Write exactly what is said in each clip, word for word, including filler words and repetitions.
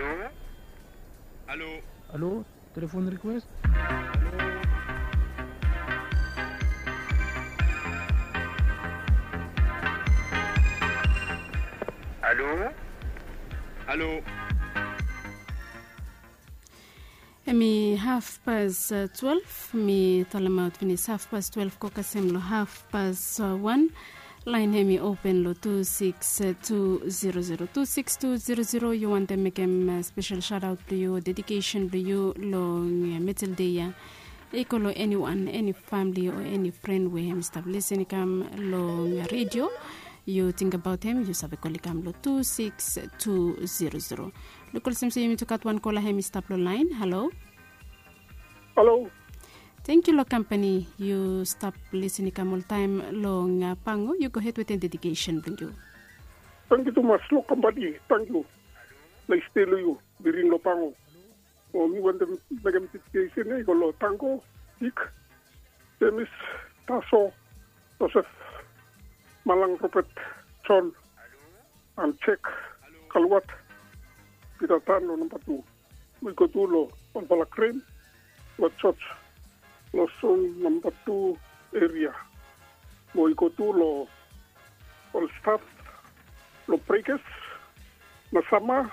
Halo. Halo, telefon request. Halo. Halo. Hemi hafpas twelef. Mi talemaot finis hafpas twelef go kasem long hafpas wan. Laen hemi open long tu siks tu zero zero tu siks tu zero zero. Yu wantem mekem spesel shaotaot blong yu o dedikesen blong yu long metel dei ya, i go long eniwan, eni famili o eni fren we hemi stap lisin i kam long redio. Yu tingbaot hem, yu save kol i kam long tu siks tu zero zero. Luk olsem se yumi tu gat wan kola hemi stap long laen. Halo. Halo. Tangkiu long kampani. Yu stap lisin i kam oltaem long pango. Yu gohed wetem dedikesen blong yu. Tangkiu tumas long kampani. Tangkiu. Nais dei long yu. Birin long pango. O mi wantem mekem dedikesen ya i go long tango, ik, jemis, taso, josef, malang, robet, jon, an jek, kalwat, pita tan long namba tu. Mo i go tu long olfala gren, long jos, long son namba tu, eria. Mo i go tu long ol staf long brekas, nasama,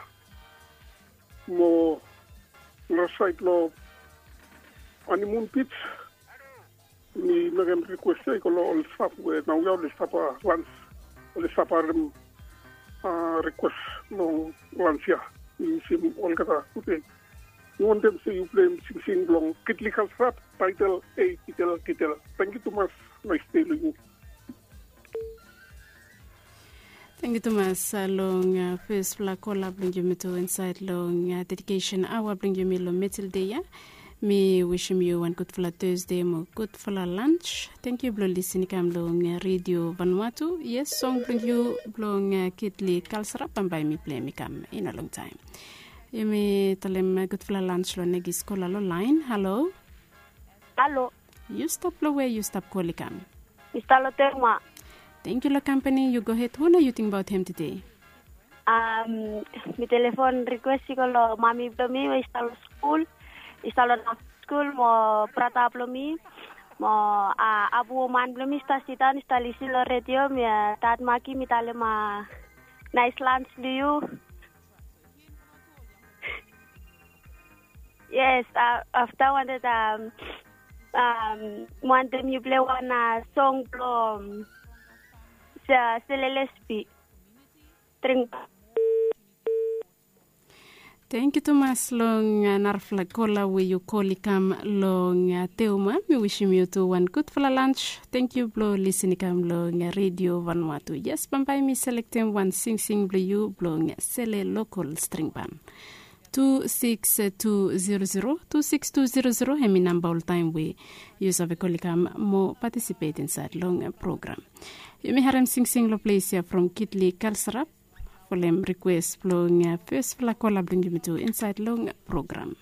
mo narasaed long animun bits. Mi mekem rikwes ya i go long ol staf we naoia oli stap lans, oli stap harem rikwes long lans ya. Mi wisim olgeta gudei. Mi wantem se yu pleim singsing blong kitli kalsrap, taetel ei kitel kitel. Tangkiu tumas. Nais dei long yu. Tangkiu tumas long fesfala kola blong yumi tu insaed long dedikesen aoa blong yumi long metel dei ya. Mi wisim yu wan gudfala tesde mo gudfala lans. Tangkiu blong lisin i kam long redio vanwatu. Yes, song blong yu blong kitli kalsrap bambae mi pleim i kam i no longtaem. Yumi talem gudfala lans long negis kola long laen. Halo. Halo. Yu stap long we yu stap kol i kam? Mi stap long tengma. Tangkiu long kampani. Yu gohed. Hu nao yu tingbaot hem tede? Mi telefon rikwes i go long mami blong mi we i stap long skul, i stap long skul mo brata blong mi mo abu woman blong mi i stap sidaon i stap lisin long redio. Mi dad maki mi talem nais lans long yu. Yes, afta wanted wanted mi plei wan song blong selelespi. Dring. Tangkiu tumas long narafala kola we yu kol i kam long teuma. Mi wisim yu tu wan gudfala lans. Tangkiu blong lisin i kam long redio vanwatu. Yes, bambae mi selektem wan singsing blong yu blong sele lokol stringban. Tu siks tu zero zero tu siks tu zero zero hemi namba oltaem we yu save kol i kam mo patisipet insaed long program. Yumi harem singsing long ples ya from kitli kalsrap folem rikwes blong fesfala kola blong yumi tu insaed long program.